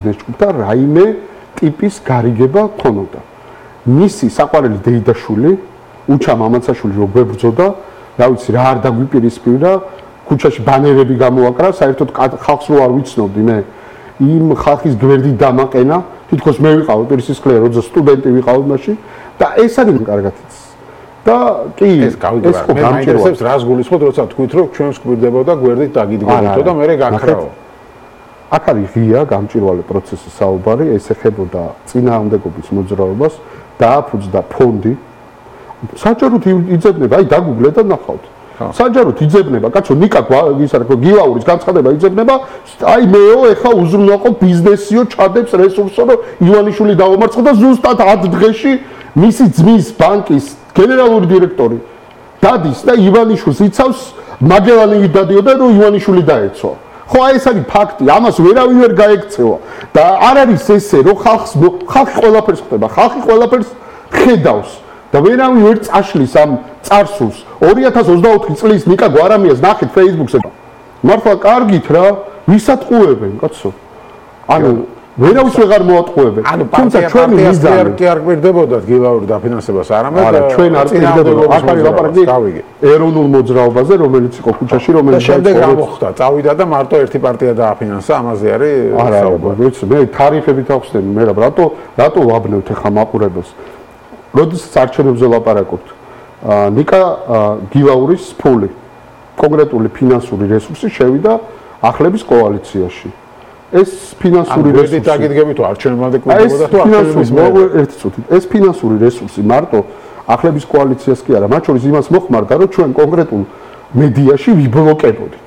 ჯგუფთა რაიმე ტიპის გარიგება ქონოდა. მისი საყვარელი დეიდაშვილი, უჩა მამაცაშვილი რო გვებრძოდა, რა ვიცი რა არ დაგვიპირისპირა, ქუჩაში ბანერები გამოაკრა, საერთოდ ხალხს რო არ ვიცნობდი მე. იმ ხალხის გვერდით დამაყენა, თითქოს მე ვიყავ პირსისხლე, როცა სტუდენტი ვიყავ მაშინ და ეს არის კარგად იცის. და კი ეს გავიგებარ. მე მაინტერესებს რას გულისხმობთ, როცა თქვით რომ ჩვენს გვირდებოდა გვერდით დაგიდგებოდო და მე გაქრაო. აქ არის ღია გამჭვირვალე პროცესის საუბარი, ეს ეხებოდა წინააღმდეგობის მოძრაობას, დააფუძდა ფონდი. საჯაროდ იძებნება, აი დაგუგლეთ და ნახავთ. საჯაროდ იძებნება, კაცო, ნიკა ისა რა გილაურის განცხადება იძებნება, აი მეო ეხა უზრუნველყო ბიზნესიო, ჩადებს რესურსო, რომ ივანიშვილი დაუმარცხო და ზუსტად 10 დღეში მისი ძმის ბანკის გენერალური დირექტორი დადის და ივანიშვილს იცავს, მაგელანი დადიოდა, რომ ივანიშვილი დაეცვა. ხო აი ეს არის ფაქტი, ამას ვერავინ ვერ გაექცევა და არ არის ესე, რომ ხალხი ყველაფერს ხვდება, ხალხი ყველაფერს ხედავს და ვერავინ ვერ წაშლის ამ წარსულს. 2024 წლის ნიკა გვარამიას ნახეთ Facebook-ზე. მართლა კარგით რა, ვისატყუებენ, კაცო. ანუ ვერავის ვეღარ მოატყუებენ. თუმცა ჩვენი მიზანი კი არ გვერდებოდათ გილაური დაფინანსებას, არამედ ჩვენ არ გვერდებოდა. აქ არის ლაპარაკი ეროვნულ მოძრაობაზე, რომელიც იყო ქუჩაში, რომელიც შემდეგ გამოხდა, წავიდა და მარტო ერთი პარტია დააფინანსა, ამაზე არის საუბარი. ვიცი, მე თარიფებით ახსნები, მე რატო ვაბნევთ ახლა მაყურებელს. როდესაც არჩევნებზე ლაპარაკობთ, ნიკა გილაურის ფული, კონკრეტული ფინანსური რესურსი შევიდა ახლების კოალიციაში. ეს ფინანსური რესურსი დაგიდგებით თუ არჩევნებამდე კვირდებოდა თუ არჩევნების მერე ერთი წუთით ეს ფინანსური რესურსი მარტო ახლების კოალიციას კი არა მათ შორის იმას მოხმარდა რომ ჩვენ კონკრეტულ მედიაში ვიბლოკებოდით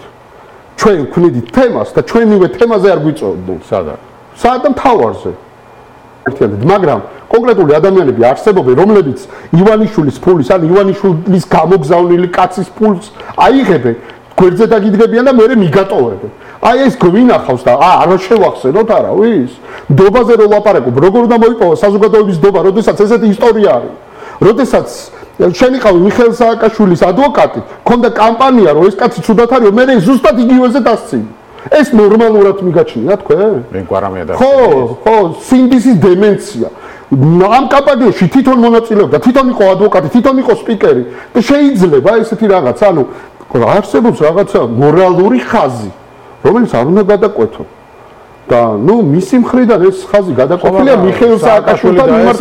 ჩვენ ვქნიდით თემას და ჩვენივე თემაზე არ გვიწევდნენ სად და მთავარზე ერთიანად მაგრამ კონკრეტული ადამიანები არსებობენ რომლებიც ივანიშვილის ფულის ან ივანიშვილის გამოგზავნილი კაცის ფულს აიღებენ გვერდზე დაგიდგებიან და მერე მიგატოვებენ აი ეს გვინახავს და არ შევახსენოთ არავის დობაზე რო ლაპარაკობ როგორ უნდა მოიპოვა საზოგადოების დობა როდესაც ესეთი ისტორია არის როდესაც შენ იყავი მიხეილ სააკაშვილის ადვოკატი ქონდა კამპანია რომ ეს კაცი ცუდად არის მე ზუსტად იგივეზე დასცინი ეს ნორმალურად მიგაჩნია თქვენ მე გვარამია და ხო სინდისის დემენცია ამ კამპანიაში თვითონ მონაწილეობდა თვითონ იყო ადვოკატი თვითონ იყო სპიკერი და შეიძლება ესეთი რაღაც ანუ არსებობს რაღაცა მორალური ხაზი რომელიც არ უნდა გადაკვეთო და ნუ მისი მხრიდან ეს ხაზი გადაკვეთილია მიხეილ სააკაშვილთან მიმართ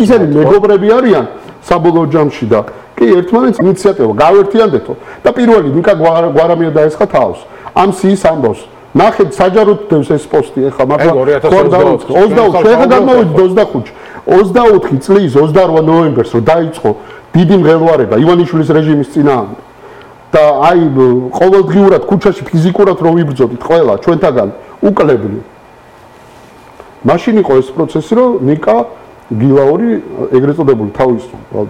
ისინი მეგობრები არიან საბოლოო ჯამში და კი ერთმანეთს ინიციატივა გავერთიანდეთო და პირველი ნიკა გვარამია დაესხა თავს ამ სიის ამბავს ნახეთ საჯაროდ დევს ეს პოსტი ეხლა მართლა 2020 შეხა გამოვიდა 25 წლის 28 ნოემბერს რომ დაიწყო დიდი მღელვარება ივანიშვილის რეჟიმის წინააღმდეგ და აი ყოველდღიურად ქუჩაში ფიზიკურად რო ვიბრძოდით ყველა ჩვენთაგან უკლებლი მაშინ იყო ეს პროცესი რომ ნიკა გილაური ეგრეთ წოდებული თავის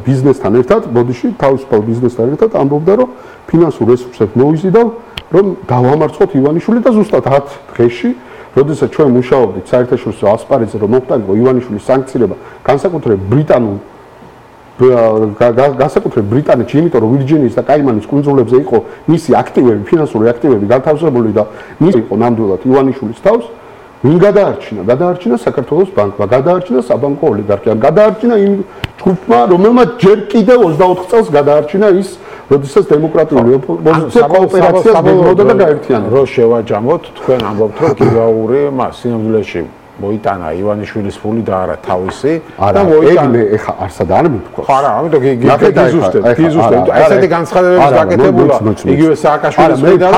ბიზნესთან ერთად ბოდიში თავისუფალ ბიზნესთან ერთად ამბობდა რომ ფინანსურ რესურსებს მოიზიდავ რომ დავამარცხოთ ივანიშვილი და ზუსტად 10 დღეში როდესაც ჩვენ მუშაობდით საერთაშორისო ასპარეზზე რომ მოხდარიყო ივანიშვილის სანქცირება განსაკუთრებით ბრიტანულ განსაკუთრებით ბრიტანეთში, იმიტომ რომ ვირჯინიის და კაიმანის კუნძულებზე იყო მისი აქტივები, ფინანსური აქტივები განთავსებული და მისი იყო ნამდვილად ივანიშვილის თავს, ვინ გადაარჩინა? გადაარჩინა საქართველოს ბანკმა, გადაარჩინა საბანკო ოლიგარქია, გადაარჩინა იმ ჯგუფმა, რომელმაც ჯერ კიდევ 24 წელს გადაარჩინა ის, როდესაც დემოკრატიული ოპოზიცია კოოპერაციას გეგმავდა და გაერთიანდა. რო შევაჯამოთ, თქვენ ამბობთ, რომ გილაური სინამდვილეში მოიტანა ივანიშვილის ფული და არა თავისი და მოიტანა ეხა არსად არ მithქვა ხო არა ამიტომ გიზუსტებ ესეთი განცხადებების გაკეთებულა იგივე სააკაშვილის მხრიდან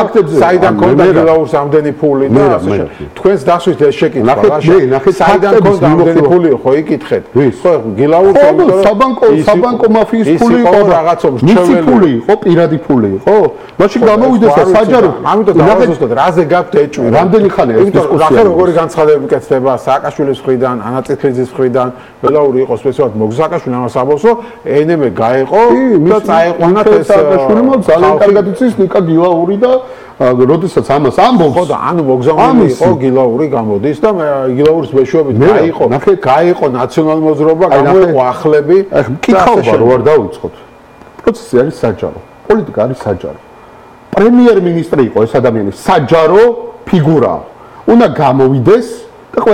საიდან კონდა გილაურს ამდენი ფული და ასე თქვენს დასვით ეს შეკითხვა საიდან კონდა ამდენი ფული ხო იკითხეთ ხო გილაურს საბანკო მაფიის ფული იყო რაღაცა მისი ფული იყო პირადი ფული იყო მაშინ გამოვიდეს და საჯარო ამიტომ დავაზუსტოთ რაზე გაქვთ ეჭვი რამდენი ხანია ეს დისკუსია რახე როგორი განცხადებები კეთდება სააკაშვილის მხრიდან, ანაწილფეძის მხრიდან, ველაური იყო სპეციალურად მოგზაკაშვილი ამას ამბობს, რომ ენემე გაეყო და წაეყვანათ ეს სააკაშვილმა ძალიან კარგად იცის ნიკა გილაური და როდესაც ამას ამბობს ხო და ანუ მოგზაურული იყო გილაური გამოდის და გილაურის მეშვეობით გაეყო ნაციონალური მოძრაობა, გამოეყო ახლები. კითხავდა რო არ დავიწყოთ. პროცესი არის საჯარო, პოლიტიკა არის საჯარო. პრემიერ-მინისტრი იყო ეს ადამიანი, საჯარო ფიგურაა. უნდა გამოვიდეს